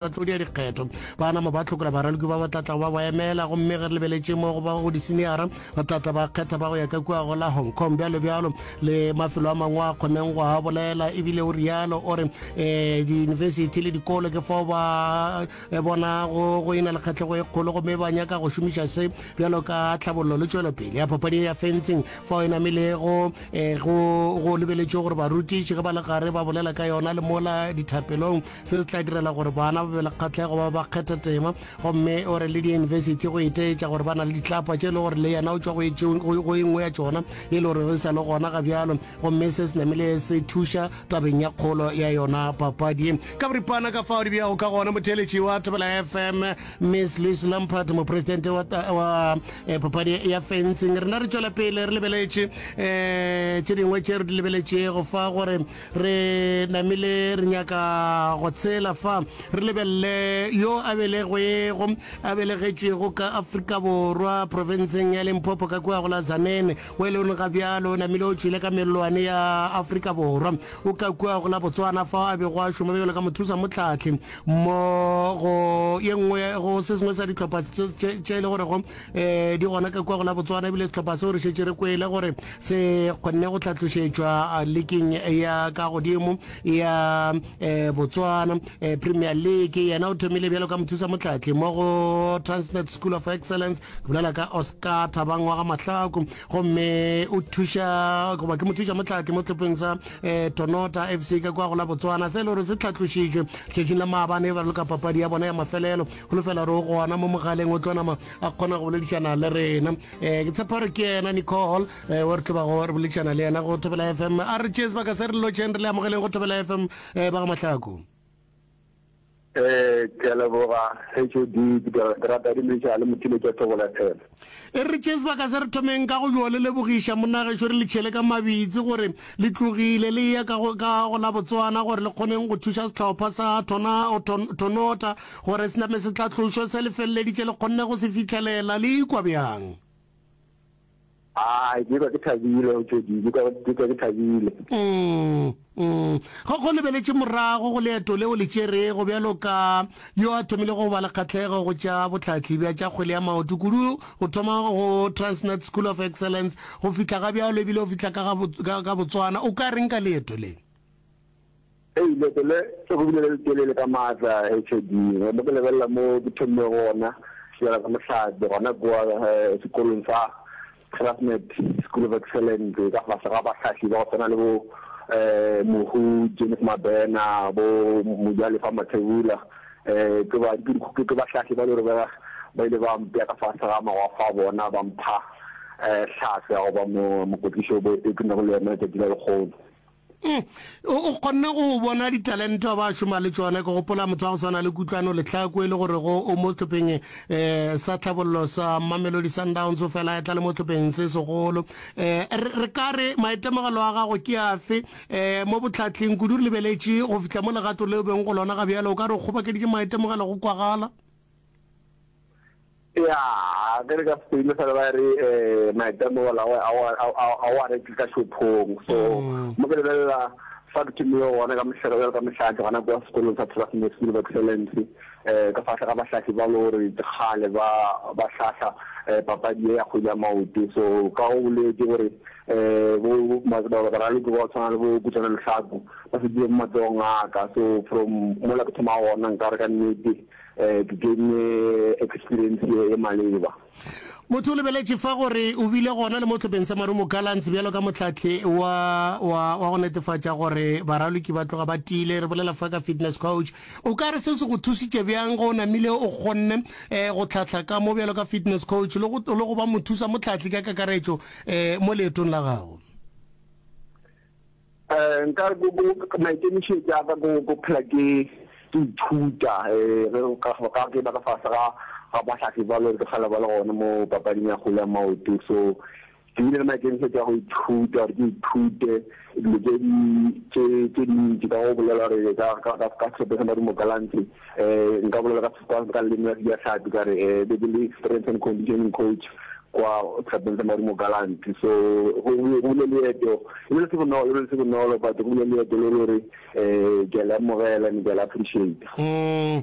Tlo dia dikgetho ba nama ba hlokola baraloki ba ba tla tlago ba ba emela, gomme ge re lebeletše mo go ba go diseniara ba tla tla ba kgetha ba go ya ka kua go la Hong Kong bjalo bjalo le mafelo a mangwe a kgoneng go a bolela. Ebile o rialo o re um diyunibesithi le dikolo ke fao ba eh, bona go go ena le kgahlego e kgolo gomme ba nyaka go šomiša se bjalo ka tlhabollo le tšwelopele ya papadi ya fencing fao e namilego um go go lebeletše gore barutiši ge ba le gare ba bolela ka yona le mola dithapelong Se se tla direla gore bana ba be le kgahlego ba ba kgetha tema gomme o re le diyunibesithi go iteetša gore ba na le ditlapa tše e le gore le yena o tšwa go e nngwe ya tšona e le gore e sa le gona ga bjalo gomme se se namile se thuša tabeng ya kgolo ya yona papadi ye. Ka boripana ka fao di bjago ka gona motheeletši wa Thobela FM Miss Louise Lampard mopresidente wa, wa eh, papadi ya fencing rena re tšwela pele re lebeletše um tše dingwe tše re di lebeletšego fa gore Re namile re nyaka go tshela fa re lebelele yo a belegwego a belegetšwego ka Afrika Borwa profenseng ya Limpopo ka kua go la Tzaneen o e leng ga bjalo o namile o tšwile ka mellwane ya Afrika Borwa o ka kua go la Botswana fao a bego a šoma bjalo ka mothusa mohlahli mo go ye nngwe go se sengwe sa dihlopha tše e le gorego um di gona ka kua go la Botswana ebile sehlopha seo re šetše re kwele gore se kgonne go hlatlošetšwa liking ya ka godimo ya um Botswana um Premier League. Yena o thomile bjalo ka mothusa mohlahli mo go Transnet School of Excellence, ke bolela ka Oscar Thabang wa ga Mahlaku, gomme o thuša goba ke mothuša mohlahli mo hlopheng sa um Tonota FC ka kua go la Botswana, se e le gore se hlatlošitšwe letšatšing la maabane ba raloka papadi ya bona ya mafelelo. Holofela gore o gona mo mogaleng o tlo nama a kgona go boledišana le rena. Um ke tshepa gore ke yena Nicole um o re tlo bago re boledišana le yena go Thobela FM. A re tšee sebaka se re lotšheng re le amogeleng go Thobela FM um ba ga Mahlaku. Eh, ke a leboga HOD, ke rata di le le mothiletša Thobela FM. E re tšee sebaka se re thomeng ka go yo le lebogiša monna gešo re le tšhele ka mabitsi gore le tlogile le eya ka go, ka go la Botswana gore le kgoneng go thuša sehlopha sa Thona, Thon, Thonota gore se name se tlatlošwe se le feleleditše le kgonne go se fihlelela. Le ikwa bjang? Ai, ke ikwa ke thabile, HOD, ke ikwa, ke ikwa ke thabile. Mm. Mm. Go, go lebeletše morago go leeto leo le tšerego bjalo ka yo a thomile go ba le kgahlego go tša bohlahli bja tša kgwele ya maoto, kudu go thoma go Transnet School of Excellence go fihla ga bjalo ebile o fihla ka ga, ka, ka Botswana. O ka reng ka leeto le? Hei, leeto le go bile le letelele ka maatla, HOD. Mo ke lebelela mo ke thomilego gona bjalo ka mohlahli gona kua eh, sekolong sa Transnet School of Excellence ka fase ga bahlahli ba go swana le bo um Mohu James Mabena, bo Mojalefa Mathebula, um ke ba ke bahlahli ba le gore ba ba ile ba mpea ka fase ga magwafa a bona ba mpha um hlahlo ya go ba mokwetlisi o ke nago le yena letšatši la lekgono. Mm. O kgonne go bona ditalente ba šoma le tšona. Ke gopola motho wa go swana le Kutlwano Letlhako e le gore go o mo sehlopheng um sa tlhabollo sa Mamelodi Sundowns o fela e tla le mo sehlopheng se segolo. Um re ka re maitemogelo a gago ke afe um mo botlhatleng kudu re lebeletše go fihla mo legato leo beng go lona ga bjale o ka re o kgobokeditše maitemogelo go kwagala? Ya, ge re ka Spain fela ba re eh maitemogelo a a o a reke ka shopong. So mm. mo ke lebelela fa ke thomile gona ka mohlare bjalo ka mohlahli gona kwa sekolong sa Trustnet School of Excellence eh ka fahla ga bahlahli ba le gore kgale ba ba hlahla eh, papadi ya kgwele ya maoto. So ka go boletse gore eh bo baraloki ba tshwana le bo Kutlwana Lehlaku ba fetile mo matsogong a ka. So from mola ke thoma gona nka re ka nnete eh, ke gaine experience ye maleba. Motho o lebeletše fa gore o bile gona le mo hlopheng sa Marumo Gallants bjalo ka mohlahli wa, wa, wa go netefatša gore baraloki ba tloga ba tiile. Re bolela fa ka fitness coach. O ka re se se go thusitše bjang ge o namile o kgonne eh, go hlahla ka mo bjalo ka fitness coach le go, le go ba mothusa mohlahli ka kakaretšo eh, mo leetong la gago? Eh, nka re maikemišetšo a ka ko phela ke ke ithuta eh, ge ka ka ke ba ka fase ga ga bahlahli ba le ke kgale ba le gona mo papading ya kgwele ya maoto. So ke bile le maikemišetšo a go ithuta gore ke ithute dilo tše di tše tše dintši ka go bolela gore ka ka ka ka sehlopha sa Marumo Gallants eh, nka bolela ka ka ka leleme la Sejatlhapi ka re eh, be ke le strength and conditioning coach. Kwa sehlopeng sa Marumo Gallants. So go go bile leeto, e bile se bonolo, e bile se bonolo, but go bile leeto le le gore um ke a le amogela and ke a le appreciate. Mm.